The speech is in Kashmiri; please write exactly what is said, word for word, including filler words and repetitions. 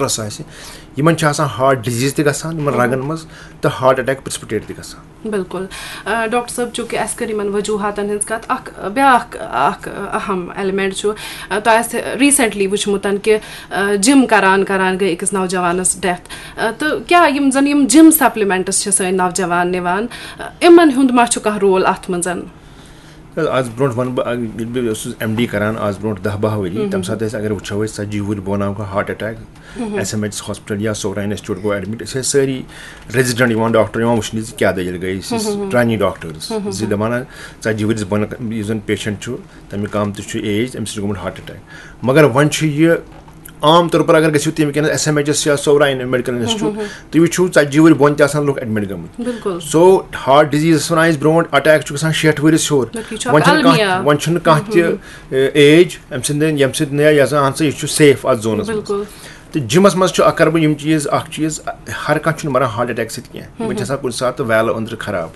سٹرس آسہِ، یِمن چھِ آسان ہارٹ ڈِزیٖز تہِ گژھان یِمن رگن منٛز، تہٕ ہارٹ اٹیک پریسپٹیٹ تہِ گژھان۔ بِلکُل۔ آ، ڈاکٹر صٲب، چوٗنٛکہِ اَسہِ کٔر یِمَن وجوٗہاتَن ہٕنٛز کَتھ، اَکھ بیٛاکھ اَکھ اَہَم ایلیمنٹ چھُ، آ، تۄہہِ آسہِ ریٖسنٹلی وٕچھمُت کہِ، آ، جِم کَران کَران گٔے أکِس نوجوانَس ڈیتھ۔ آ، تہٕ کیٛاہ یِم زَن یِم جِم سپلِمنٹٕس چھِ سٲنۍ نوجوان نِوان، آ، یِمَن ہُنٛد ما چھُ کانٛہہ رول اَتھ منٛز؟ آز برونٛٹھ وَنہٕ بہٕ، اَ، ییٚلہِ بہٕ اوسُس ایم ڈی کران، آز برونٛٹھ دَہ باہ ؤری، تَمہِ ساتہٕ ٲسۍ، اگر وٕچھو أسۍ، ژَتجی وُہٕرۍ بۄن آو heart attack, S M H hospital یا سورا انسٹیٹیوٹ گوٚو ایڈمٹ۔ أسۍ ٲسۍ سٲری ریزیڈنٹ یِوان، ڈاکٹر یِوان وٕچھنہِ زِ کیٛاہ دٔلیٖل گٔے، أسۍ ٲسۍ ٹرینی ڈاکٹرز زِ دَپان، ژَتجی ؤرِیَس بۄن یُس زَن پیشنٹ چھُ، تَمیُک کم تہِ چھُ ایج، أمِس چھُ گوٚمُت ہارٹ اٹیک۔ مگر وۄنۍ چھُ یہِ عام طور پر اگر گٔژھِو تُہۍ وٕنکیٚنَس ایس ایم ایچ ایس یا سورا میڈیکل انسٹیٹیوٹ، تُہۍ وٕچھِو، ژَتجی وُہٕرۍ بۄن تہِ آسان لُکھ ایڈمٹ گٔمٕتۍ۔ بِلکُل۔ سو ہارٹ ڈِزیٖزَس وَنان أسۍ برونٛٹھ، اٹیک چھُ گژھان شیٹھ ؤرِس ہیوٚر۔ بلکہِ یہِ چھُ وۄنۍ اَکھ چھُنہٕ کانٛہہ، المیہ۔ وۄنۍ چھُنہٕ کانٛہہ تہِ ایج اَمہِ سٕنٛدِ، ییٚمہِ سۭتۍ نہٕ یہِ ہسا، اَہن سا، یہِ چھُ سیف اَتھ زونَس منٛز۔ بِلکُل۔ تہٕ جِمَس منٛز چھُ اَکھ، کَرٕ بہٕ یِم چیٖز، اَکھ چیٖز، ہر کانٛہہ چھُنہٕ مَران ہارٹ اٹیک سۭتۍ کینٛہہ۔ یِمَن چھِ آسان کُنہِ ساتہٕ ویلہٕ أنٛدرٕ خراب۔